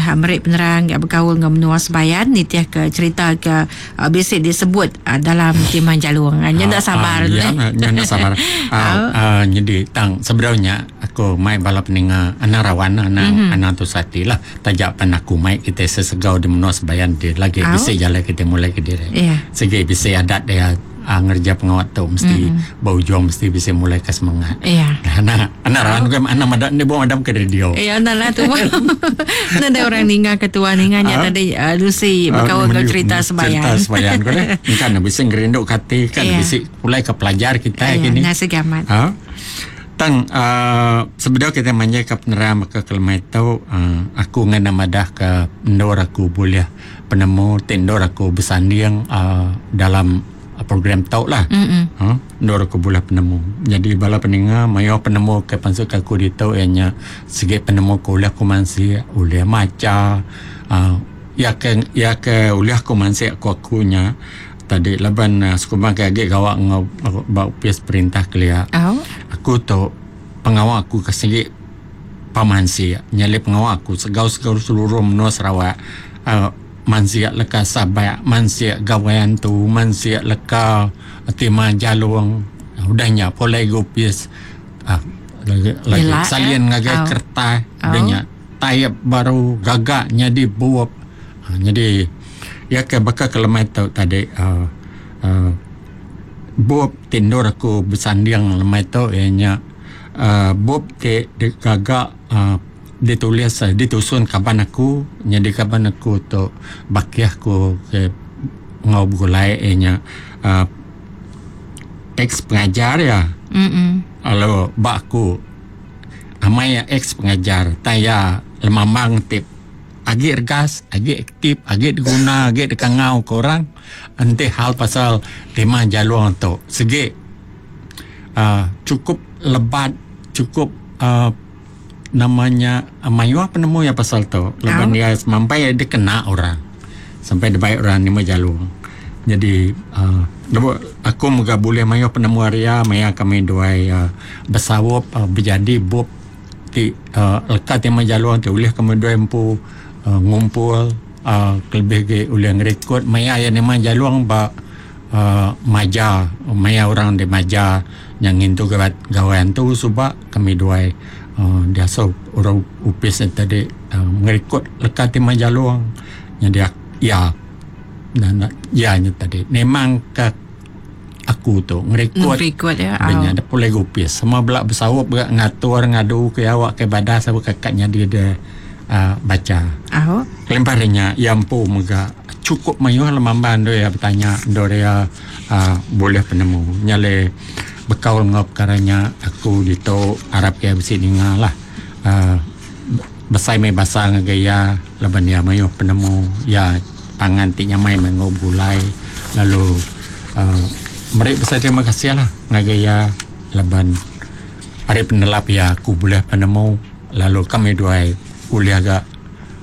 Udah meri penerang bekaul enggau menua Sebayan nitihka cherita ke bisi disebut dalam Timang Jalung. Nya enda sabar tu. Ya, nya enda sabar. Nyadi tang sebedau nya aku mai bala peninga anang rawan anang anang tusah ati lah. Taja pan aku mai kitai sesegau di menua Sebayan ti lagi bisi jalai kitai mulai kediri. Sigi bisi adat dia. Ngereja pengawa tu mesti ba ujung mesti bisi mulai ke semangat. Iya. Anak anak rawan ke anak meda ni buang madam ke radio. Iya enda lah tu. Nadai orang ninga ke tua ninga nya tadi Lucy bekaul enggau cerita sebayan. Cerita sebayan ko deh. Engka ne bisi ngerindu ke ati kan bisi pulai ke pelajar kitai kini. Iya sigi amat. Ha. Tang sebedau kitai manjai ke penerang baka ke lemai tu aku ngena madah ke endur aku bulih penemu ti endur aku besanding uhh dalam program tu lah. Uhh endur aku bulih penemu. Nyadi bala peninga mayuh penemu ke pansut ke aku ditu iya nya sigi penemu ke ulih aku mansik, ulih macha uhh iya ke iya ke ulih aku mansik ku aku nya tadi laban sekumbang ke agi gawa enggau ba opis perintah kelia. Aku tu pengawa aku ke sigi pemansik nyadi pengawa aku segau-segau seluruh menua Sarawak uhh mansik leka sabak mansik gawai antu mansik leka timah jalung udah nya pulai ga opis uhh lagi lagi salin ngagai kertas udah nya taip baru gaga nyadi bup uhh nyadi iya ke baka ke lemai tu tadi uhh uhh bup ti endur aku besanding lemai tu iya nya. uhh bup ti digaga uhh ditulis ditusun kaban aku nyadi kaban aku tu bakih aku ke enggau begulai iya nya uhh ex pengajar iya lalu ba aku amai iya ex pengajar tai iya lemambang ti agi regas agi aktif agi diguna agi dikangau ke orang enti hal pasal tema jalung tu sigi. uhh chukup lebat chukup uhh nama nya mayuh penemu iya pasal tu laban iya semampai dikena orang sampai dibai orang nyema jalung. Jadi uhh lebuh aku mega bulih mayuh penemu ari iya maya kami duai uhh besaup bejadi bup ti uhh leka ti meh jalung ti ulih kami duai empu uhh ngumpul uhh kelebih agi ulih ngerikod maya iya nyema jalung ba. uhh maja maya orang di maja nya ngintu gawai antu suba kami duai uhh diasuh orang opis ne tadi uhh ngerikod leka ti meh jalung nyadi iya iya nya tadi memang ka aku tu ngerikod au nya da pulai ga opis semua bela besaup ga ngatur ngadu ke awak ke badas awak ka nyadi de uhh bacha. Au. Kelimpah ari nya iya empu mega Chukup mayuh lemambang endur iya betanya endur iya uhh bulih penemu. Nya alai bekaul enggau pekara nya aku ditu arap iya bisi ninga lah uhh besai meh basa ngagai iya laban iya mayuh penemu iya pangan ti nyamai meh enggau begulai lalu uhh meri besai terima kasih lah ngagai iya laban ari penelap iya aku bulih penemu lalu kami duai ulih ga.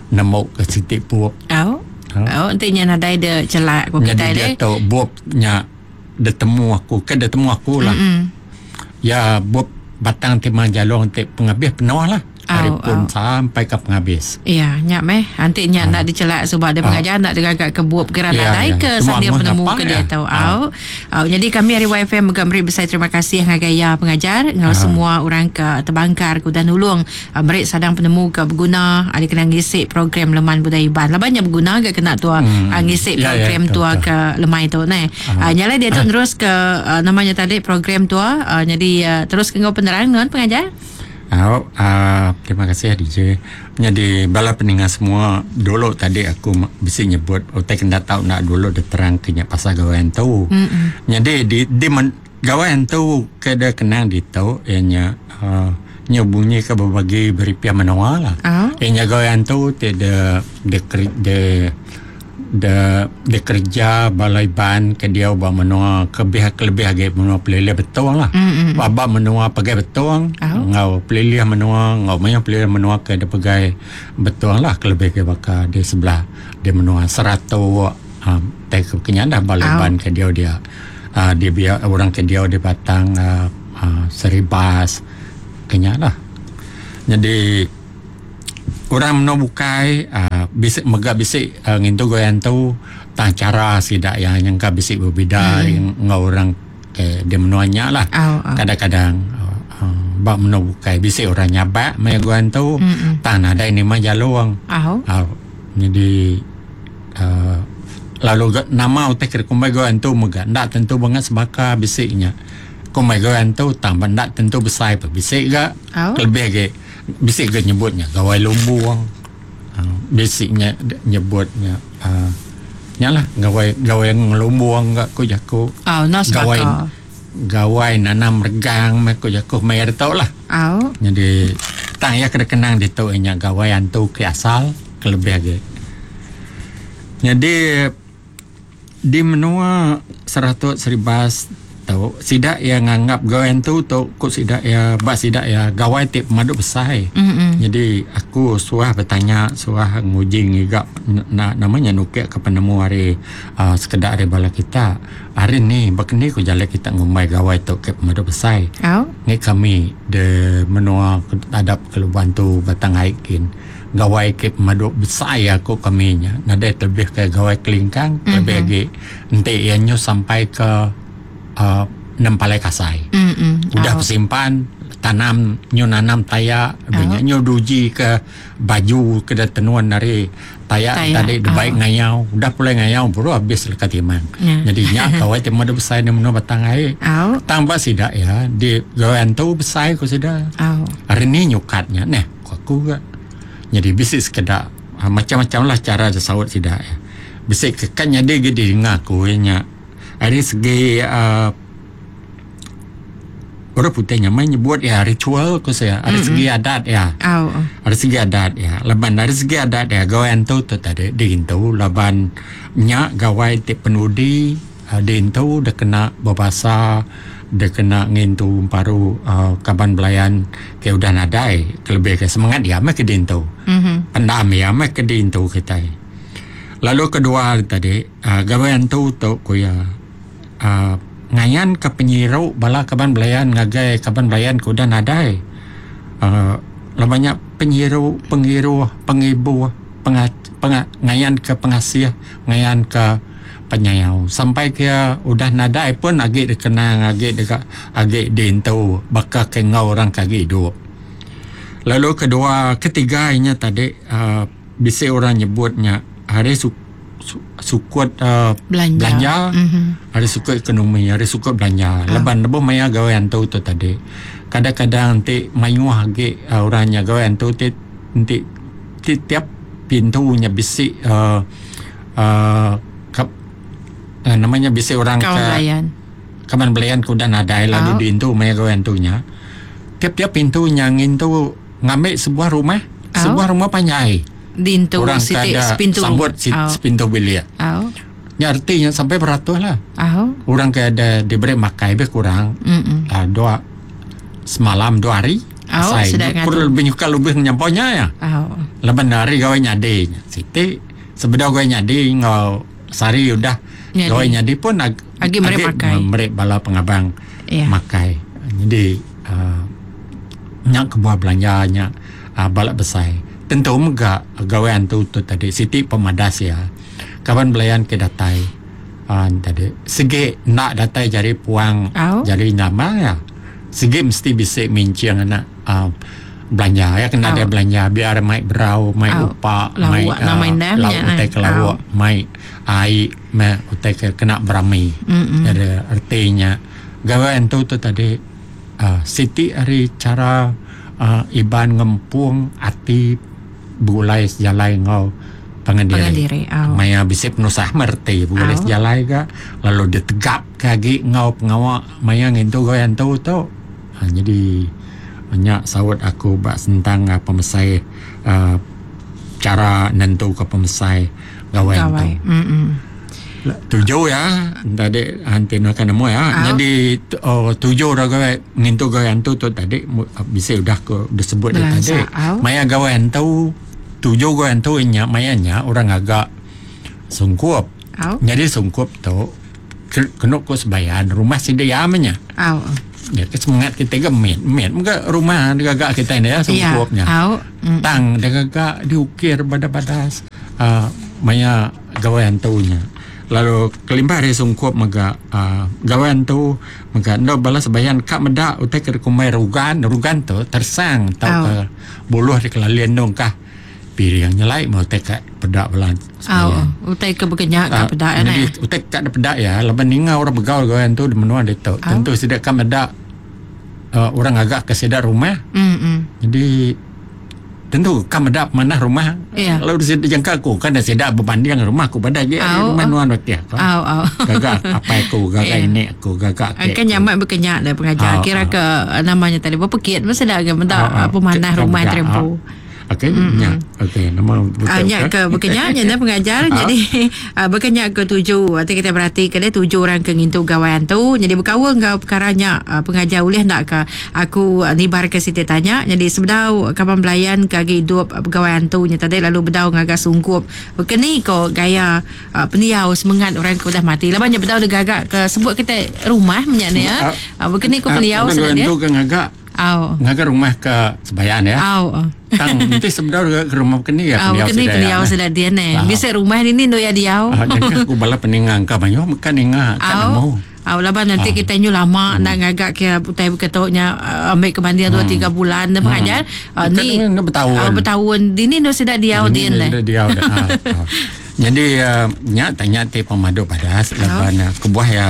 Nemu ke siti bup. Au. Au enti nya nadai de chelak ku kitai deh. Nyadi diatu bup nya ditemu aku ke ditemu aku lah. Mm-hmm. Ya bup batang ti mang jalung ti pengabis penuh lah. Ari pun sampai ke pengabis. Ya, nya meh. Enti nya enda dicelak suba dia pengajar enda digaga ke bup kira nadai ke sanding penemu ke diatu. Au. Au nyadi kami ari YFM mega meri besai terima kasih ngagai iya pengajar enggau semua orang ke tebangkar ke udah nulung Meri sadang penemu ke beguna ari kena ngisi program Leman Budaya Iban. Laban nya beguna ga kena tua ngisi program tua ke lemai tu neh. Nya alai diatu nerus ke nama nya tadi program tua nyadi terus ke enggau penerang nuan pengajar. Au terima kasih DJ. Nyadi bala peninga semua dulu tadi aku bisi nyebut utai ke enda tau enda dulu diterang ke nya pasal gawai antu. Nyadi di di Gawai antu ke da kenang ditu iya nya uhh nya bunyi ke bebagi beripih menua lah. Iya nya gawai antu ti de de de de dikereja bala Iban ke diau ba menua ke lebih kelebih agi menua pelilih Betong lah. Ba menua pegai Betong enggau pelilih menua enggau mayuh pelilih menua ke dipegai Betong lah kelebih agi baka di sebelah di menua Saratok uhh tai ke kinya dah bala Iban ke diau dia. uhh di biak orang ke diau di batang uhh Seribas ke nya lah. Nyadi Orang menua bukai uh, bisi mega bisi uh, ngintu gawai antu tang cara sida yang nyangka bisi berbeda mm. enggau orang ke di menua nya lah. Oh, oh. Kadang-kadang uh, uh, ba menua bukai bisi orang nyabak maya gawai antu mm tang nadai nima jalung. Oh. Uh, jadi uh, lalu nama utai ke kumbai gawai antu mega ndak tentu bangat sebaka bisi nya. Kumbai gawai antu tang ndak tentu besai pe bisi ga. Oh. Lebih agi bisi ke nyebutnya gawai lumbung. Uh, bisi nya nyebutnya uh, nya lah gawai gawai ngelumbung ga ku jaku. Oh, no Gawai sebaka. gawai nanam regang meh ku jaku maya ditu lah. Oh. Jadi tang iya kena kenang ditu nya gawai antu ke asal ke lebih agi. Jadi di menua Saratok Seribas tu sida iya nganggap gawai antu tu ku sida iya ba sida iya gawai ti pemadu besai. Mm-mm. Jadi aku suah bertanya suah nguji ngiga na, namanya nukik ke penemu hari uh, sekedar hari bala kita. Hari ni berkeni ku jalan kita ngumbai gawai tu ke pemadu besai. Oh. Ni kami de menua adap ke Luban tu Batang Ai kin. Gawai ke pemadu besai aku kami nya. Nadai terlebih ke gawai kelingkang, mm-hmm. lebih lagi enti iya nyu sampai ke uh, Nempalai Kasai. Mm-mm. Udah Oh. bersimpan tanam nyu nanam taya oh. Nyu duji ke baju ke tenun dari taya, Taya, tadi oh. Baik ngayau udah pulai ngayau baru habis lekat timang. Ya. Jadi nya gawai ti madu besai ni menua Batang Ai. Oh. Tambah sida ya di gawai antu besai ku sida. Oh. Hari ni nyukatnya neh ku aku ga. Jadi bisi sekedak ah, macam-macam lah cara saut sida ya. Bisi ke kan jadi ge dengar aku nya. Hari segi uh, orang putih nya main nyebut ya ritual ku saya hari segi adat ya. Oh. Hari segi adat ya. Laban hari segi adat ya gawai antu tu tadi diintu laban nya gawai ti penudi uh, diintu dia kena berbahasa dia kena ngintu paru uh, kaban belayan ke udah nadai kelebih ke semangat dia meh ke diintu. Mhm. Pendam ya meh ke diintu kita. Lalu kedua tadi uh, gawai antu tu ku ya uh, ngayan ke penyiru bala kaban belayan ngagai kaban belayan ke udah nadai. Uh, banyak penyiru, pengiru, pengibu, penga, penga, ngayan ke pengasih, ngayan ke penyayau. Sampai ke udah nadai pun agi dikenang, agi dekat agi diintu bakal ke ngau orang kagi hidup. Lalu kedua, ketiga inya tadi uh, bisa orang nyebutnya hari su, su, sukut uh, Belanja. belanja Mhm. hari sukut ekonomi, hari sukut belanja. Leban lebuh maya gawe antu tu tadi. Kadang-kadang nanti mayuh agi uh, orangnya gawe antu ti nanti ti, tiap pintunya bisi uh, uh, kap, uh, namanya bisi orang Kawan ke belayan. kaman belayan ke udah nadai lalu Oh. diintu maya gawe antunya. Tiap-tiap pintu yang intu ngambil sebuah rumah, Oh. sebuah rumah panjai. Dintu orang siti kada sepintu. sambut si, Oh. sepintu bilik. Oh. Ya artinya sampai beratus lah. Oh. Orang ke ada diberi makai lebih kurang Mm-mm. uh, dua semalam dua hari. Oh, Asai. sudah ngadu. Perlu lebih nyuka lebih nyamponya ya. Oh. Leban hari gawe nyadi. Siti sebedah gawe nyadi ngau sari udah Nyadi. gawe nyadi pun ag, Agi merek makai. Merek bala pengabang Ya. makai. Jadi uh, nyak kebuah belanja nyak uh, balak besai. Tentu mega gawe antu tu tadi Siti pemadas ya. Kawan belayan ke datai uh, tadi segi nak datai jari puang Au. jari nama ya. Segi mesti bisa mincing anak uh, belanja ya kena Au. dia belanja biar mai berau mai Au. upa Lawak mai nama indah lauk nya, utai eh. ke lawak mai ai mai utai ke kena berami. Mm-mm. Jadi artinya gawe antu tu tadi uh, Siti hari cara uh, Iban ngempung ati begulai sejalai ngau pangan diri. Pangan diri, au. Maya bisi penusah merti begulai Au. sejalai ga lalu dia tegap ke agi ngau pengawa maya ngintu gawe antu tu. Ha, jadi banyak saut aku bak sentang uh, pemesai uh, cara nentu ke pemesai gawe antu. Gawai. Mm-mm. Tujuh ya tadi nanti nak nemu ya. Au. Jadi oh, tujuh dah gawe ngintu gawe antu tu tadi bisa udah ke disebut dia Belansa, tadi. au. Maya gawe antu tujuh gawe antu nya maya nya orang agak sungkup. Au. Jadi sungkup tu kena ku sebayan rumah sida ya menya. Au. Ya, ke semangat kita ga mit mit mega rumah digaga kita ni ya sungkupnya. Au. Tang digaga diukir badas-badas uh, maya gawai antu nya. Lalu kelimpah ari sungkup mega uh, gawai antu mega endo bala sebayan ka meda utai ke dikumbai rugan, rugan tu tersang tauka buluh dikelalin endo engkah piring nyelai meh utai ka peda bala sebayan. Au, utai ke bekenya ka peda ya. Jadi utai ka peda ya laban ninga orang begau gawai antu di menua ditu. Tentu sida ka meda uh, orang ngaga ke sida rumah. Jadi tentu ka meda pemanah rumah. Yeah. Lalu sida jangka aku kan sida berbanding rumah aku pada agi Au, rumah au. nuan wakil aku. Au, au. Gaga apai aku, gaga Yeah. ini aku, gaga Kan akek aku. nyaman bekenya dah pengajar. Au, Kira au. ke namanya tadi berpekit mesti dah ke meda Au, au. pemanah Ka rumah meda, terempu. au. Okey, nya. Okey, nama Ah, betul nya ke? ke bekenya nya dah pengajar. Jadi bekenya ke tuju. Nanti kita berhati ke dia tuju orang ke ngintu gawai antu. Jadi berkaul enggau perkara nya pengajar ulih nak ke aku nibar ke siti tanya. Jadi sebedau kaban belayan ke agi hidup pegawai antu nya tadi lalu bedau ngaga sungkup. Bekeni ko gaya pendiau semengat orang ke udah mati. Laban nya bedau digaga ke sebut kita rumah nya ni ya. Bekeni ko pendiau Orang sida dia. tu ke ngaga Au. ngaga rumah ke sebayan ya. Au. Tang nanti sebedau ke rumah keni ya Au pendiau keni sida pendiau ya. sida dia ne. Ah. Bisa rumah ni ni ya diau. Ah, jangka aku bala peningang ka banyo mekan ninga ka Au. nemu. Au laban nanti kita nyu lama nak ngagak ke utai beketoknya ambil ke banding 2 3 bulan dah pengajar. Bukan Ni ni bertahun. Bertahun. Dini nu sida diau Ini din leh. Dia diau dah. Ah, ah. Jadi nya tanya ti pemadu badas laban kebuah ya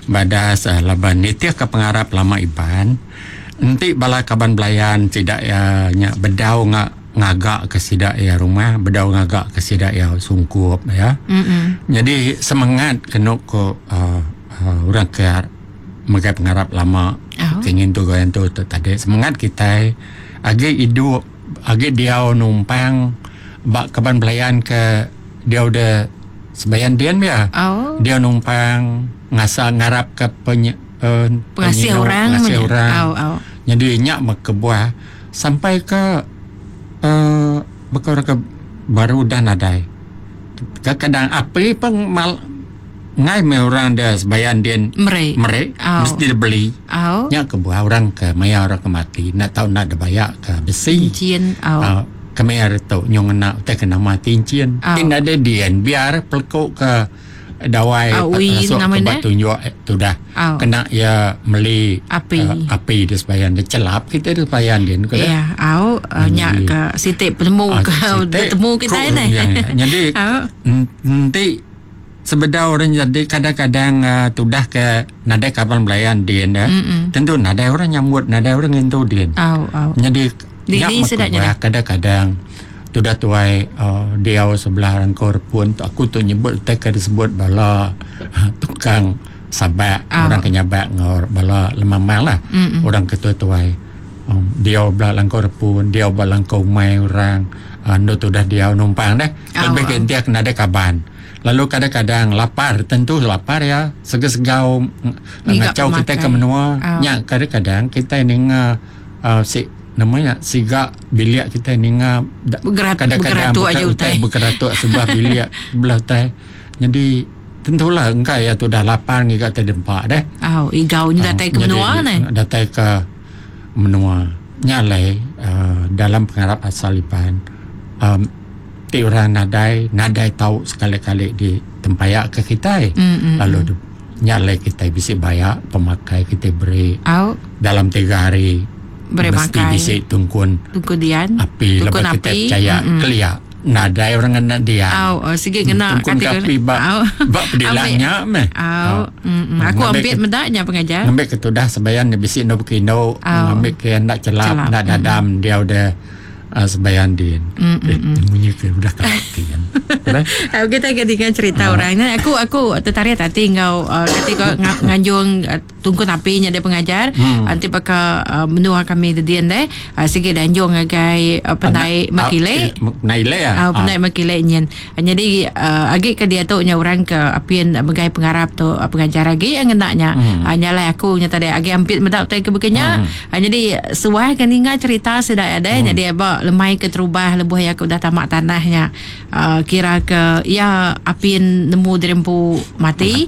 badas laban nitih ke pengarap lama Iban. Enti bala kaban belayan tidak ya nya bedau ngagak ke sida ya rumah, bedau ngagak ke sida ya sungkup ya. Jadi semangat kena ko orang ke megai pengarap lama Oh. kingin tu goyan tu tadi semangat kita agi hidup agi diau numpang bak kaban belayan ke dia udah sebayan dian ya. Oh. Dia numpang ngasa ngarap ke Pengasih penyinu, orang pengasih punya. orang. Au, au. Jadi nyak mekebuah sampai ke bekor ke baru dah nadai. Kadang api pun mal ngai me orang dia sebayan dia Merek. merek Au. mesti dia beli. Au. Nyak kebuah orang ke maya orang ke mati nak tahu nak ada bayak ke besi. Cincin au. Kami hari tu nyong nak tak kena mati cincin. Au. Tin ada dian biar pelkuk ke dawai Au, ui, masuk nama ke dia? batu tunjuk tu dah. Au. Kena ya meli Api. Api dia sebayan dia celap kita dia sebayan dia. Kena. Ya, au nyak ke sitik penemu ke temu kita ni. Ya, ya. Jadi Au. nanti sebedau orang jadi kadang-kadang tudah ke nadai kapal belayan dia dah. Tentu nadai orang nyambut, nadai orang ngentu dia. Au, au. Jadi Di- nyak di sedaknya makuah, kadang-kadang tudah tuai dia sebelah rangkor pun aku tu nyebut tak ada sebut bala tukang sabak orang kenyabak ngor bala lemamang lah. Orang ketua tuai dia belah langkor pun dia belah langkor umai orang ando tu dah dia numpang dah lebih ke dia kena ada kaban. Lalu kadang-kadang lapar, tentu lapar ya, sega-segau Ngiga ngacau kita ke pemakai. menua. Nya kadang-kadang kita ninga si namanya siga bilik kita ninga kadang-kadang Bergeratuk aja utai. Bergeratuk sebelah bilik sebelah utai. Jadi tentulah engkau ya tu dah lapar ngiga terdempak dah. Au, igau ni datai ke Jadi, menua ni. Datai ke menua. Nyalai dalam pengarap asal Iban. Ti orang nadai tahu sekali-kali di tempayak ke kita. Lalu nyalai kita bisi bayak pemakai kita beri Au, dalam 3 hari Beri mesti makai. bisi tungkun tungku dian. api Tungkun lepas kita api. percaya kelia nadai orang kena dia. Au, sikit kena Tungkun kata- api bak Au. bak pedilangnya meh. Au, Aku ambil medaknya pengajar. Ngambil ke tudah sebayan dia bisi no bekino, ngambil ke nak celap, Celap. nak dadam dia udah sebayan din. Bunyi ke udah kaki kan. Aku kita akan dengar cerita orang ni. Aku aku tertarik tadi ngau ketika nganjung tungkun api nya dia pengajar. Nanti pakai menua kami dedian deh. Sikit danjung ngagai pendai makile. Naile ya. Pendai makile nyen. Jadi agi ke dia tu nya orang ke apian megai pengarap tu pengajar agi yang ngenaknya. Nyalai aku nya tadi agi ampit medak tai ke bekenya. Jadi suah kan ingat cerita sedak ada. Jadi abak lemai ke terubah lebuh ya aku dah tamak tanahnya. Kira ke ya apin nemu dirempu mati.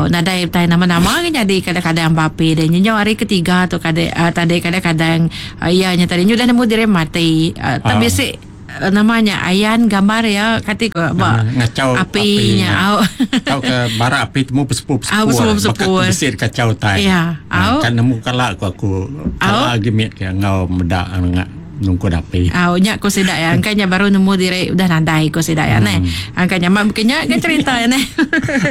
Nadai tai nama-nama kan jadi kadang-kadang sadang ba api deh. Nyenyau hari ketiga tu kadi tadi kadang-kadang iya nya tadi nyudah nemu diri mati. Tang bisi nama nya ayan gambar iya kati ko ba ngachau api nya au. Tauka bara api temu pesepur-pesepur baka ke bisi kachau utai. Au. Ka nemu kala ku aku kala agi mit ke enggau meda nungkun api. Au nya ku sida iya engka nya baru nemu diri udah nadai ku sida iya neh. Engka nya mak baka nya ga cherita iya neh.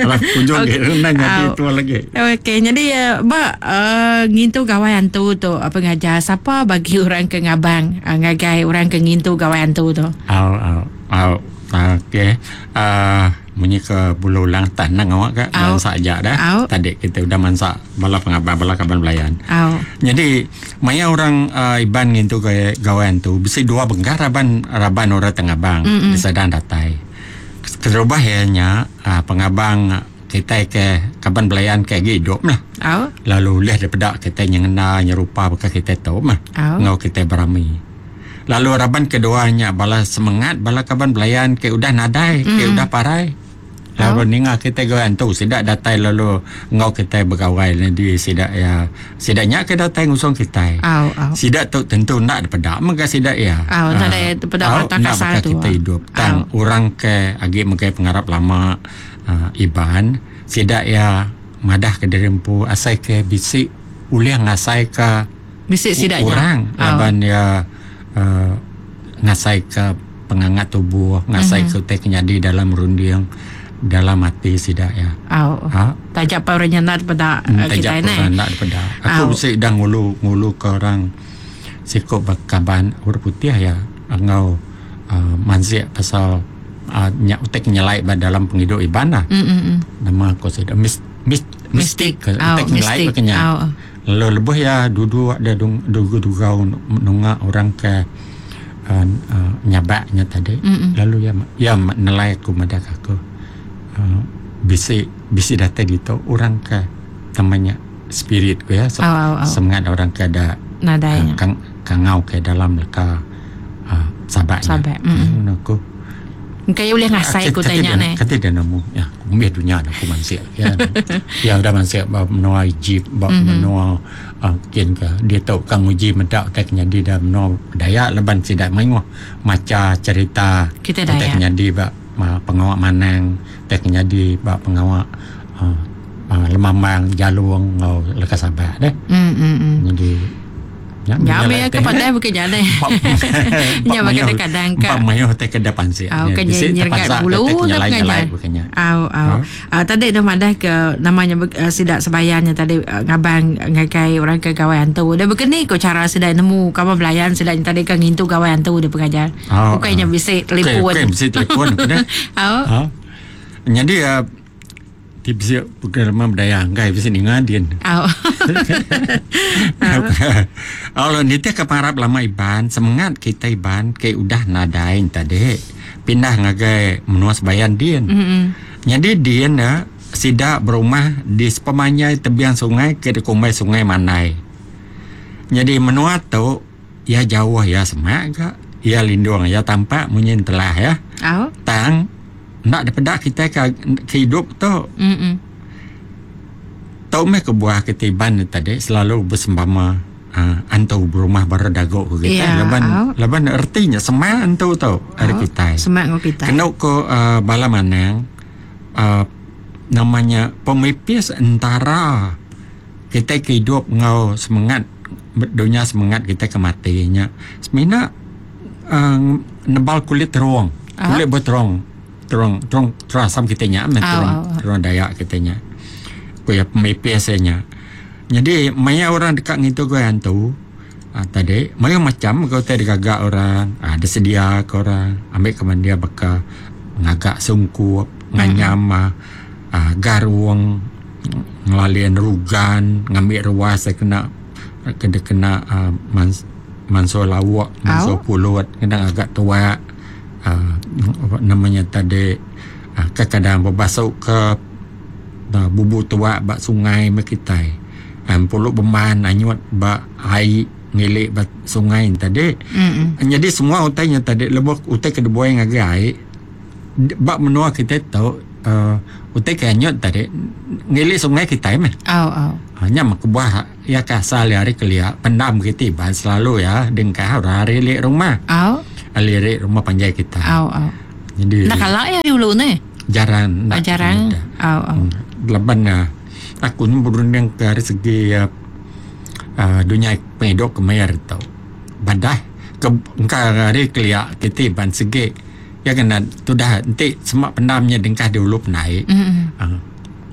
Alah ujung agi enda nyadi tua lagi. Okey nyadi ba ngintu gawai antu tu pengajar sapa bagi orang ke ngabang ngagai orang ke ngintu gawai antu tu. Au au au okey uhh munyi ke bulu ulang tan nang awak ka mansa aja dah. Tadi kita udah mansa bala pengabang bala kaban belayan. Nyadi maya orang Iban ngintu gawai antu bisi dua bengkah raban raban orang ti ngabang disadang datai. Keterubah iya nya pengabang kitai ke kaban belayan ke agi idup lah. Lalu ulih dipeda kitai nyengenda nyerupa baka kitai tu mah enggau kitai berami. Lalu raban kedua nya bala semengat bala kaban belayan ke udah nadai ke udah parai. Lalu ninga kitai gawai antu sida datai lalu enggau kitai begawai nyadi sida iya sida nya ke datai ngusung kitai. Sida tu tentu enda dipeda mega sida iya. Enda baka kitai idup tang orang ke agi megai pengarap lama Iban sida iya madah ke diri empu asai ke bisi ulih ngasai ka Bisi sida nya. Orang laban iya uhh ngasaika pengangat tubuh, ngasaika utai ke nyadi dalam runding, dalam ati sida iya. Au. Ha. Taja pa orang nya enda dipeda Taja kitai pa neh. orang enda dipeda. Aku bisi udah ngulu nguluka orang siku ba kaban orang putih iya enggau uhh mansik pasal uhh nya utai ke nyelai ba dalam pengidup Iban lah. Nama ku sida mis mis mistik utai ke nyelai ba ke nya. Lalu lebuh iya duduk dia dugau-dugau nunga orang ke uhh nyabak nya tadi lalu iya iya nelai aku madah ka aku uhh bisi bisi datai ditu orang ke nama nya spirit ku iya semengat orang ke da kangau ke dalam leka uhh sabak nya. Ku. Engka iya ulih ngasai ku utai nya neh. Kati dia nemu ya mih dunya aku mansik ya. Ya udah mansik ba menua Egypt ba menua uhh kin ka diatu ka nguji meda utai ke nyadi da menua Dayak laban sida mayuh macha cherita Kita utai ke Dayak. nyadi ba pengawa manang utai ke nyadi ba pengawa uhh lemambang jalung enggau leka sabak deh. Nyadi Nya meh ke pandai bukan nya deh. Nya ba kadang-kadang ka. Empa mayuh utai ke da pansik. Au ke nyergat bulu dah pengajar. Au au. Tadi dah madah ke nama nya sida sebayan nya tadi ngabang ngagai orang ke gawai antu. Dah bekeni ko cara sida nemu kaban belayan sida nya tadi ke ngintu gawai antu dah pengajar. Ukai nya bisi telefon. Ukai bisi telefon. Au. Nyadi Ti bisi pengalaman bedaya enggai bisi ninga din. Au. Au nitih ke pengarap lama Iban semengat kitai Iban ke udah nadai enta dek pindah ngagai menua Sebayan din. Nyadi din ne sida berumah di sepemanjai tebing sungai ke dikumbai Sungai Mandai. Nyadi menua tu iya jauh iya semak ga iya lindung iya tampak munyi entelah iya. Tang Enda dipeda kitai ke ke idup tu. Tu meh kebuah kitai Iban ne tadi selalu besempama uhh antu berumah baru dagu ku kitai Iya, laban au. laban reti nya semak antu tu ari Au, kitai. semak enggau kitai. Kenu ku uhh bala manang uhh nama nya pemipis entara kitai ke idup enggau semengat dunya semengat kitai ke mati nya semina uhh nebal kulit terung. Kulit ba terung terung terung terung asam kitai nya meh terung terung Dayak kitai nya. Ku iya pemipis iya nya. Nyadi maya orang deka ngintu gawai antu uhh tadi mayuh macam ga utai digaga orang uhh disedia ka orang ambi ke mending baka ngaga sungkup nganyam uhh garung ngelalin rugan ngambi ruas da kena kena uhh mansuh lauk mansuh pulut kena ngaga tuak. uhh nama nya tadi uhh kadang bebasu ke bubu tuak ba sungai meh kitai uhh pulu beman anyut ba ai ngili ba sungai ne tadi. Nyadi semua utai nya tadi lebuh utai ke dibuai ngagai ai ba menua kitai tu. uh, utai ke anyut tadi ngili sungai kitai meh. Au au. Ha, nya meh kebuah iya ke asal iya ari kelia pendam kiti iban selalu iya dengkah orang ari ili rumah. Au. Lirik rumah panjai kitai. Au au. Jadi Enda kala iya ari ulu neh. Jarang enda. Jarang. Au au. Laban aku ni berunding ke ari segi uh, dunya pengidup ke maya ari tu. Badah ke engka ari kelia kiti ban segi iya kena tudah enti sema pendam nya dengkah di ulu pendai. Mm-mm. Uh,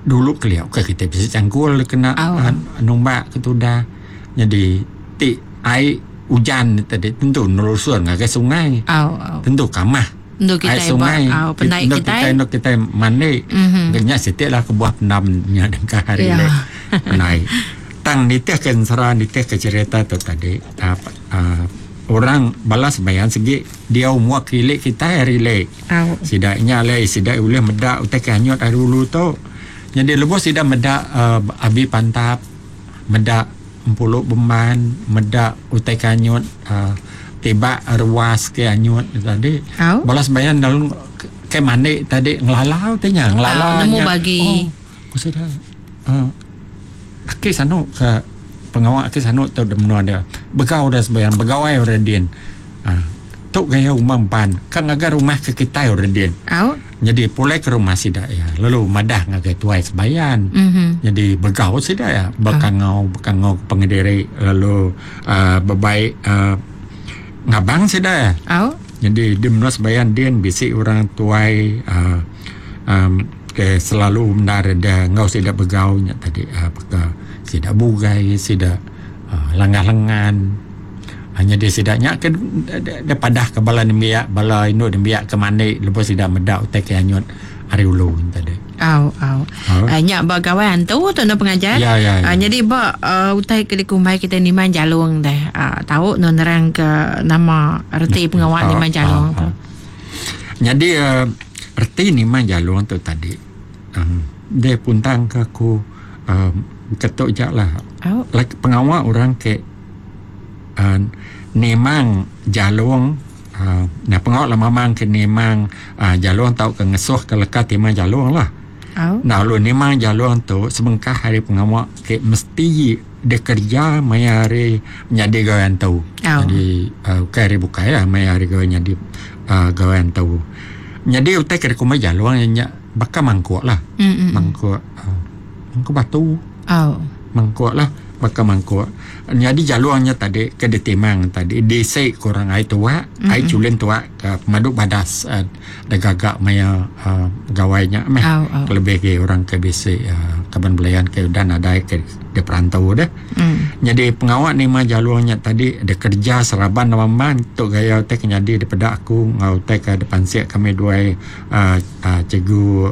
dulu kelia ukai kitai bisi canggul kena Au. uh, numbak ke tudah. Jadi ti ai ujan tadi tentu nelusur ngagai sungai. Au au. Tentu kamah Endu ai kitai ba sungai au pendai endu kitai. kitai endu kitai mandi. Mhm. Nya siti lah kebuah pendam nya dengkah hari Ya. le pendai. Tang nitih ke ensera nitih ke cerita tu tadi uh, uh, orang bala sembahyang segi diau mua ke ili kitai hari ili. Au. Sida nya alai sida ulih meda utai ke anyut ari ulu tu. Jadi lebuh sida meda uh, abi pantap, meda empulu bemban, meda utai ke anyut uh, tibak ruas ke anyut tadi. Au. Bala sembahyang dalam ke mandi tadi ngelalau ti nya, ngelalau Au, nemu nya. bagi. Oh, ku sida uh, aki sanu ke pengawa aki sanu tu di menua dia. Begau dah sembahyang, begawai orang din. Uh, tu gaya rumah empan ka ngagai rumah ke kitai orang din. Au. Jadi pulai ke rumah sida iya lalu madah ngagai tuai sebayan. Mhm. Jadi begau sida iya bekangau bekangau ke pengediri lalu uh, bebaik uh, ngabang sida iya. Au. Jadi di menua sebayan din bisi orang tuai uh, um, ke selalu bendar dia enggau sida begau nya tadi uh, baka sida bugai sida uh, langah lengan. Nyadi sida nya ke dia padah ke bala nembiak bala indu nembiak ke mandi lebuh sida meda utai ke anyut ari ulu tadi. Au au. Ha? Nya ba gawai antu tu no pengajar. Ya, ya, ya. Nyadi ba uh, utai ke dikumbai kita nimang jalung deh. Tau no nerang ke nama reti pengawa nimang jalung tu. Nyadi uh, reti nimang jalung tu tadi um, dia puntang ke aku um, ketuk jak lah. Au. Like pengawa orang ke uh, nimang jalung uh, nah pengawa lah mamang ke nimang uh, jalung tau ke ngesuh ke leka timang jalung lah. Au. Nah lalu nimang jalung tu sebengkah hari pengawa ke mesti dia kerja maya hari menjadi gawai antu. Au. Jadi uh, bukan hari bukai lah maya hari gawai jadi uh, gawai antu. Jadi utai ke kumai jalung nya bakal mangkuk lah. Mm-mm. Mangkuk uh, mangkuk batu. Au. Mangkuk lah bakal mangkuk. Jadi jalurnya tadi ke ditimang tadi disi kurang ai tuak, mm-hmm. ai culin tuak ke pemadu badas uh, degagak maya uh, gawainya meh. Au, au. Lebih ke orang ke bisi uh, kaban belayan ke udah nadai ke di perantau dah. Mm. Jadi pengawak ni mah jalurnya tadi dia kerja seraban maman tu gaya te kenyadi daripada aku ngau te ke depan siak kami dua uh, uh, cikgu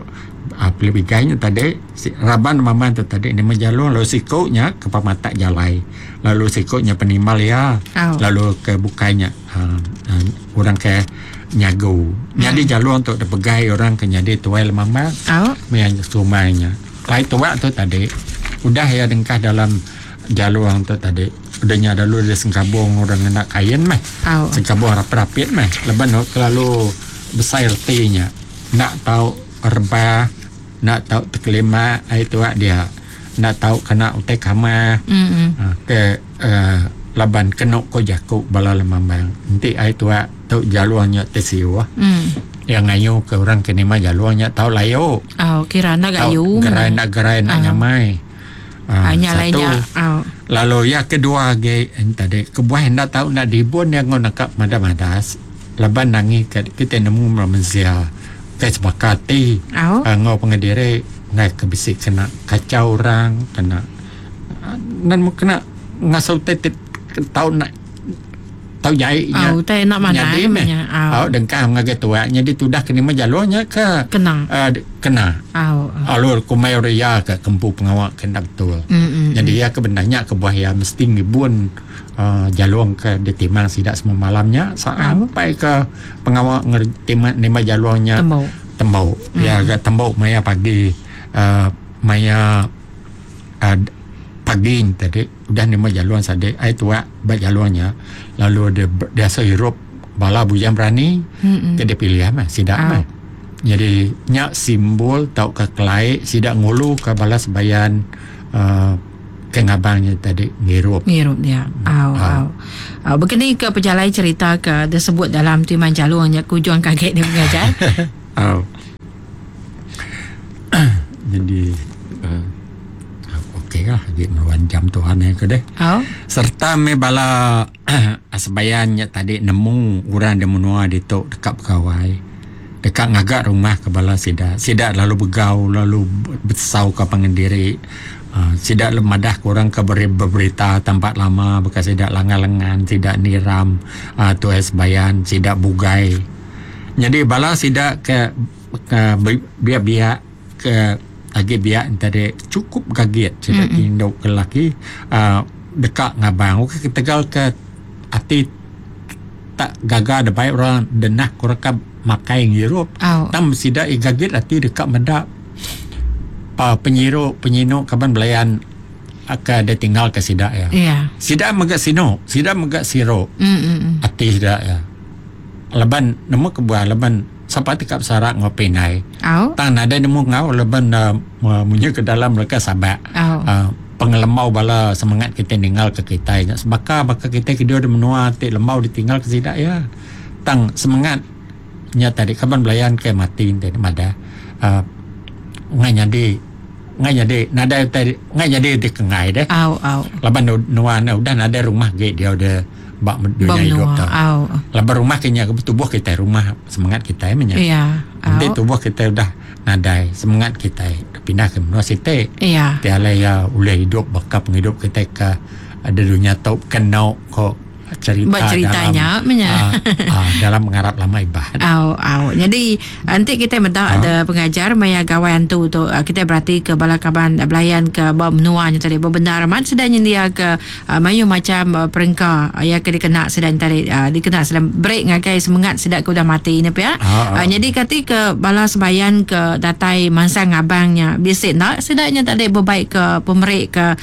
uh, Philip Igai nya tadi si, raban maman tu tadi ni jalur lalu sikuknya ke pamatak jalai lalu sikuknya penimal ya Au. lalu ke bukainya uh, uh, orang ke nyagu. Jadi jalur untuk dipegai orang ke jadi tuai lemama Au. maya sumainya. Lai tuak tu tadi udah ya dengkah dalam jalur tu tadi udahnya lalu dia sengkabung orang nak kain meh. Au. Sengkabung rapit-rapit meh. Leban terlalu besar ertinya. Nak tahu rebah, nak tahu terkelima ai tuak dia. Nak tahu kena utai kamar. Mm-mm. Ha, ke uh, laban kena ko jakuk bala lemambang. Nanti ai tuak tu jalurnya tersiuh. Mm. Yang ngayu ke orang ke nima jalurnya tahu layu. Au, kira nak Tahu gayu. gerai nak gerai nak Ah. nyamai. Ah, Ha, nya satu. lainnya. Au. Lalu yang kedua ge tadi kebuah hendak tahu nak dibun yang ngau nakap madas-madas. Laban nangi ke kita nemu manusia ke sepakati. Au. Uh, ngau pengadiri ngai ke bisik kena kacau orang kena nan mu kena ngasau tetit tahu nak tahu jahitnya. Au, tai nak mana Jadi meh. nya. Au. Au dengkah ngagai tuaknya ditudah kena mah jalurnya ke Kena. uh, kena. Au. au. Alur kumai ria ke kempu pengawak kena betul. Mm-mm. Jadi ya kebenarnya kebuah ya mesti ngibun uh, jalur ke ditimang sidak semua malamnya sampai ke pengawak ngerti nima jalurnya Tembok. tembok. Ya agak tembok maya pagi uh, maya uh, pagi ni tadi udah nima jaluan sade ai tuak ba jaluannya lalu dia biasa hirup bala bujang berani Mm-mm. ke dia pilih mah sidak Ah. mah. Jadi nya simbol tauka kelai sida nguluka bala sebayan uhh ke ngabang nya tadi ngirup. Ngirup dia. Au au. Au bekeni ke pejalai cerita ke disebut dalam Timan Jalung nya kujung ke agi deh pengajar. Au. Jadi uhh okey lah agi meruan jam tuan ai ke deh. Au. Serta meh bala Sebayan nya tadi nemu orang da menua ditu deka begawai, deka ngaga rumah ke bala sida. Sida lalu begau lalu besau ka pangan diri uhh sida lalu madah ka orang ke beberita tampat lama baka sida langan lengan, sida niram uhh tuai sebayan, sida bugai. Nyadi bala sida ke biak biak ke agi biak ne tadi chukup gagit sida ti indu ke lelaki uhh deka ngabang ukai ketegal ke ati tak gaga da bai orang denah ku orang ka makai ngirup tang sida iya gagit ati deka meda uhh penyiru penyinu kaban belayan ke da tinggal ka sida iya. Sida mega sinu sida mega siru ati sida iya laban nemu kebuah laban. Sapa ti ka besara enggau pindai. Tang nadai nemu enggau laban munyi ke dalam leka sabak. Pengelembau bala semengat kitai ninggal ke kitai nya sebaka baka kitai ke diau di menua ti lembau ditinggal ke sida iya. Tang semengat nya tadi kaban belayan ke mati enti ne madah uhh ngai nyadi ngai nyadi nadai utai ngai nyadi ti ke enggai deh. Laban nuan udah nadai rumah agi diau de. Ba dunya idup tu. Laban rumah ke nya tubuh kitai rumah semengat kitai meh nya. Enti tubuh kitai udah nadai semengat kitai pindah ke menua siti. Ti alai iya ulih idup baka pengidup kitai ke di dunya tu keno ko cherita dalam dalam pengarap lama Iban. Au au nyadi enti kitai meda da pengajar maya gawai antu tu kitai berati ke bala kaban belayan ke ba menua nya tadi bebendar amat sida nyendia ke Mayuh macham perengka iya ke dikena sida nya tadi dikena sida beri ngagai semengat sida ke udah mati nya pia. Nyadi kati ke bala sebayan ke datai mansang ngabang nya bisi enda sida nya tadi bebai ke pemeri ke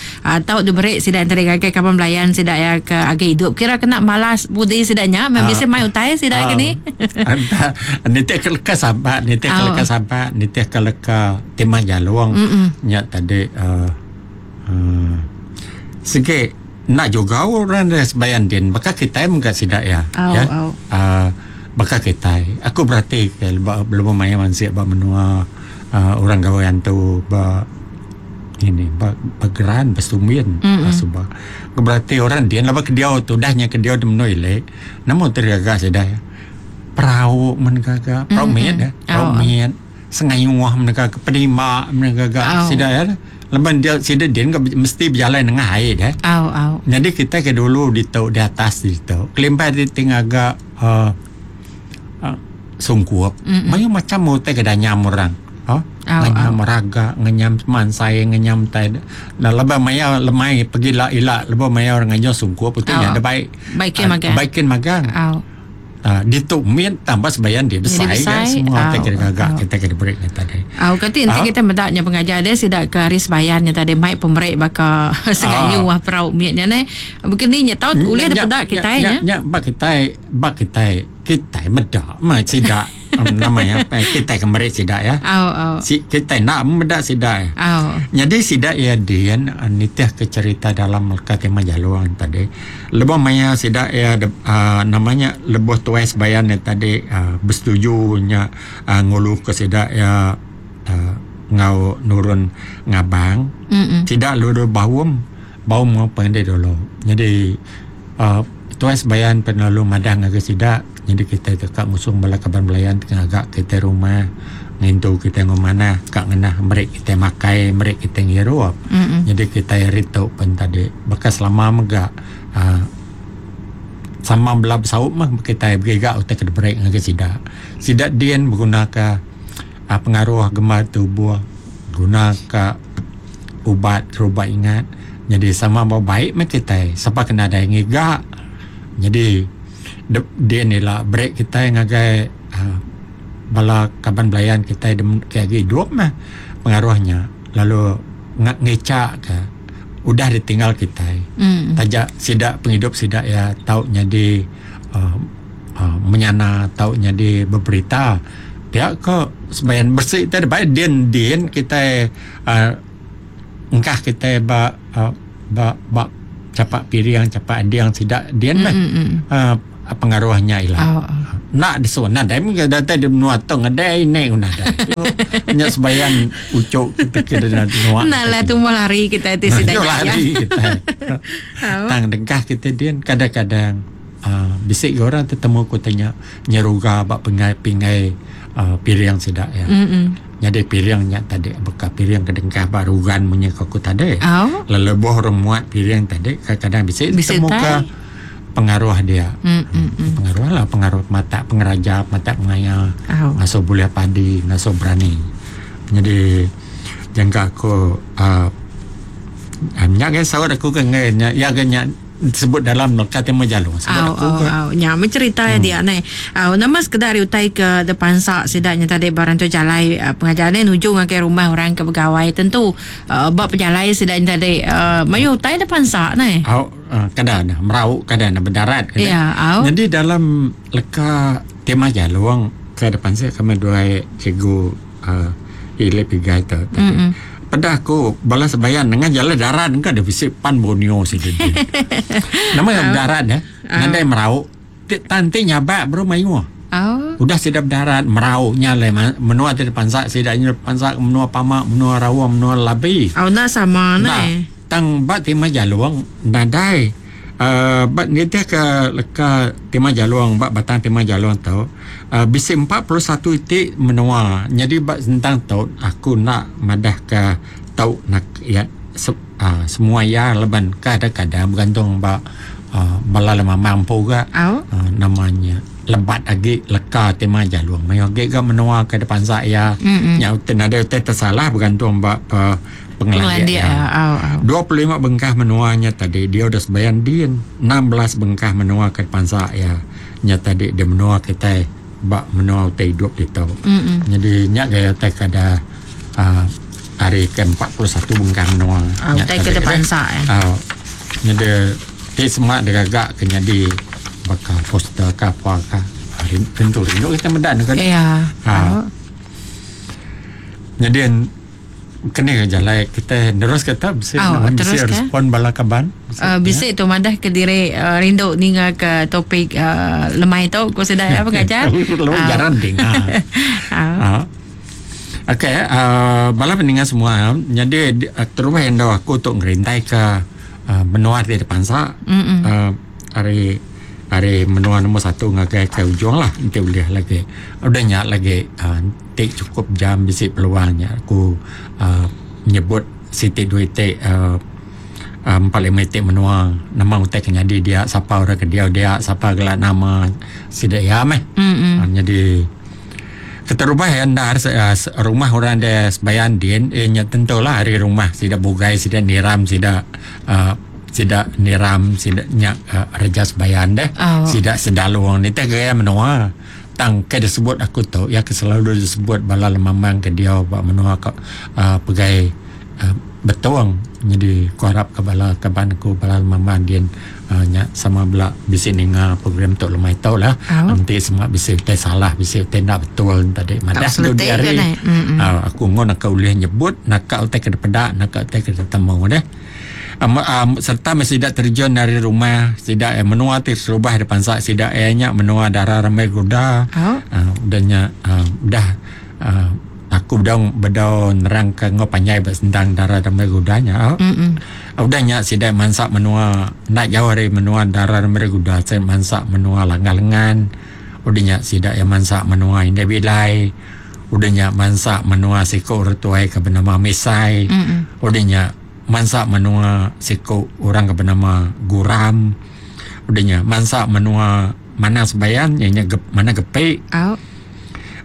tau diberi sida nya tadi ngagai kaban belayan sida iya ke agi idup kira kena malas budi sida nya meh bisi mai utai sida ke ni. Nitih ke leka sabak nitih ke leka sabak nitih ke leka timah jalung nya tadi uhh. Sigi enda juga orang da sebayan din baka kitai mega sida iya ya uhh baka kitai aku berati ke lebuh maya mansik ba menua uhh orang gawai antu ba ini ba geran ba sumbin suba aku berati orang din laban ke diau tu udah nya ke diau di menua ili nemu ti gaga sida iya perau men gaga perau mit perau mit. Sengayuh mega ke penimba mega ga sida iya laban dia sida din ga mesti bejalai nengah ai deh. Au au. Nyadi kitai ke dulu ditu di atas ditu kelimpah ti ti ngaga uhh sungkup mayuh macam utai ke danyam orang uhh ngenyam raga ngenyam mansai ngenyam tai laban maya lemai pegila ila lebuh maya orang ngajung sungkup utai nya deh bai kin magang. Ditu mit tambah sebayan dia besai ga semua utai ke digaga kitai ke diberi nya tadi. Au kati enti kitai meda nya pengajar dia sida ke hari sebayan nya tadi mai pemeri baka segayu wah perau mit nya neh. Baka ni nya tau ulih dipeda kitai nya. Nya ba kitai ba kitai kitai meda meh sida nama iya kitai ke meri sida iya. Au au. Kitai enda meda sida. Au. Nyadi sida iya din nitih ke cherita dalam leka Timah Jalung tadi. Lebuh maya sida iya uhh nama nya lebuh tuai sebayan nya tadi uhh besetuju nya uhh ngulu ke sida iya uhh enggau nurun ngabang sida lalu baum baum enggau pengadi dulu. Nyadi uhh tuai sebayan pen lalu madah ngagai sida nyadi kitai deka ngusung bala kaban belayan ti ngaga kitai rumah ngintu kitai enggau manah ka ngenah meri kitai makai meri kitai ngirup. Nyadi kitai ari tu pen tadi baka selama mega uhh sama bela besaup meh kitai begiga utai ke diberi ngagai sida. Sida din begunaka uhh pengaruh gembar tubuh guna ka ubat terubat ingat nyadi sama ba baik meh kitai sapa ke nadai ngiga nyadi din ila beri kitai ngagai uhh bala kaban belayan kitai ke agi idup meh pengaruh nya lalu ngicha ka udah ditinggal kitai taja sida pengidup sida iya tau nyadi uhh menyana tau nyadi beberita. Pia ko sebayan besi tadi bai din din kitai uhh engkah kitai ba uhh ba ba chapak piring chapak ading sida din meh uhh pengaruh nya ila. Enda disun nadai mega datai di menua tu ngedai ini ku nadai. Nya sebayan uchu kita ke menua. Enda lah tumbuh lari kitai ti sida nya. Lari kitai. Tang dengkah kitai din kadang-kadang uhh bisi ga orang tetemu ku ti nya nyeruga ba penggai pinggai uhh piring sida iya. Nyadi piring nya tadi baka piring ke dengkah ba rugan munyi ko aku tadi. Lalu lebuh orang muat piring tadi kadang-kadang bisi tetemu ka pengaruh dia. Pengaruh lah pengaruh matak pengeraja matak pengaya ngasuh bulih padi ngasuh berani. Nyadi jangka aku uhh nya ga saut aku ke enggai nya iya ga nya disebut dalam leka Timur Jalung sebut Au aku au ke. au nya meh cerita iya dia neh. Au nama sekeda ari utai ke depansa sida nya tadi ba rantu jalai pengajar neh nuju ngagai rumah orang ke begawai tentu uhh ba pejalai sida nya tadi uhh mayuh utai depansa neh. Au kada ne merau kada ne bedarat kada. Ya au. Nyadi dalam leka Timur Jalung ke depansa kami duai cikgu uhh Philip Igai tu tadi. Peda aku bala sebayan nengah jalai darat engka deh bisi pan Borneo sida din. Nama iya bedarat eh nadai merau ti tan ti nyabak baru mayuh. Udah sida bedarat merau nya alai menua ti dipansa sida nya dipansa menua Pama, menua Raung, menua Labi. Au enda sama neh. Tang ba Timah Jalong nadai uhh ba nitih ka leka Timah Jalong ba batang Timah Jalong tu uhh bisi 41 iti menua nyadi ba sentang tu aku enda madah ka tau nak iya uhh semua iya laban kadang kadang begantung ba uhh bala lemambang empu ga uhh nama nya lebat agi leka Timah Jalong mayuh agi ga menua ke dipansa iya nya nadai utai tesalah begantung ba pengelandik iya. 25 bengkah menua nya tadi dia udah sebayan din 16 bengkah menua ke pansa iya nya tadi di menua kitai ba menua utai idup ditu. Nyadi nya gaya utai ke ada uhh hari ke 41 bengkah menua nya tadi. Au nyadi ti sema digaga ke nyadi baka poster ke apa ka tentu rindu kitai meda ne kan. Nyadi Keni ke jalai kitai nerus ke tu bisi oh, nuan bisi respon bala kaban. Bisi, uh, bisi tu madah ke diri uh, rindu ninga ke topik uh, lemai tu ku sida ya pengajar. Lu uh. jarang dengar. uh. Uh. Okey, uh, bala peninga semua, jadi uh, terubah endo aku tu ngerintai ke uh, menua ti dipansa. Mm uh, ari ari menua nombor satu ngagai ke ujung lah enti ulih lagi. Udah nya lagi uh, Ti chukup jam bisi peluang nya aku uhh nyebut siti dua iti uhh empat lima iti menua nama utai ke nyadi dia sapa orang ke diau dia sapa gela nama sida iya meh. Nyadi keterubah iya endar rumah orang da sebayan din iya nya tentu lah ari rumah sida bugai sida niram sida uhh sida niram sida nya reja sebayan deh sida sedalong nitih gaya menua. Tang ke disebut aku tu iya ke selalu disebut bala lemambang ke diau ba menua ka uhh pegai uhh Betong nyadi ku arap ka bala kaban aku bala lemambang din uhh nya sama bela bisi ninga program tu lemai tu lah. Enti sema bisi utai salah bisi utai enda betul tadi madah dudi hari uhh aku ngun aku ulih nyebut naka utai ke dipeda naka utai ke ditemu deh. Sereta meh sida terjun ari rumah sida iya menua ti serubah da pansa sida iya nya menua dara rambai guda udah nya udah aku bedau bedau nerang ka enggau panjai ba sentang dara rambai guda nya udah nya sida mansa menua enda jauh ari menua dara rambai guda sida mansa menua langah lengan udah nya sida iya mansa menua indai bilai udah nya mansa menua siku orang tuai ke benama Misai udah nya Mansa menua siku orang ke benama Guram. Udah nya mansa menua Manang Sebayan iya nya Manang Gepi. Au.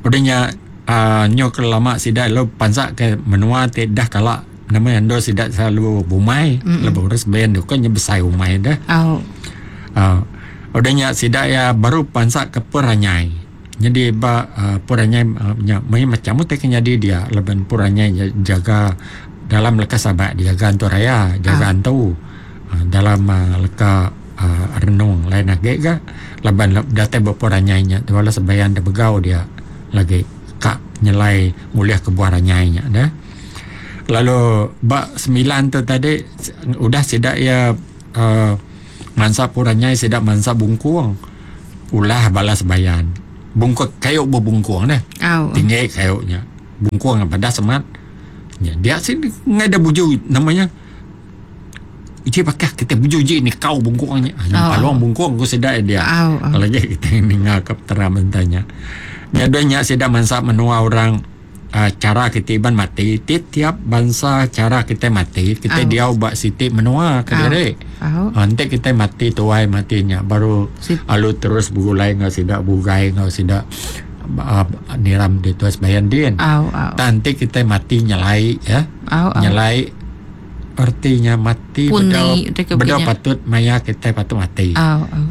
Udah nya uhh nyu ke lama sida lalu pansa ke menua ti dah kala nama endur sida selalu bumai lebuh orang Sebayan tu kan nya besai umai deh. Au. uhh Udah nya sida iya baru pansa ke Peranyai. Nyadi ba uhh Puranyai nya meh macam utai ke nyadi dia laban Puranyai nya jaga dalam leka sabak dijaga antu raya jaga antu uhh dalam uhh leka uhh renung lain agi ga laban datai ba Puranyai nya bala sebayan da begau dia lagi ka. nyelai ngulih ke buah ranyai nya deh. Lalu ba semilan tu tadi udah sida iya uhh mansa pun ranyai sida mansa bungkung ulah bala sebayan. Bungkung kayu bebungkung deh. Tinggi kayu nya. Bungkung padas amat. Nya dia sida ngaida buju nama nya. Uji pakah kita buju uji ni kau bungkung nya. Oh. Palung bungkung ku sida dia. Oh, oh. Lagi kita ninga ke peteram enta nya. Nya dua nya sida mansa menua orang uh, cara kita iban mati tiap-tiap bangsa cara kita mati kita oh. diau ba siti menua ke diri. Oh. Oh. Enti kita mati tuai mati nya baru Sit. alu terus begulai enggau sida bugai enggau sida uh, niram di tuas bayan din. Oh, oh. Tang enti kita mati nyelai ya. Oh, oh. Nyelai Erti nya mati bedau bedau patut maya kitai patut mati.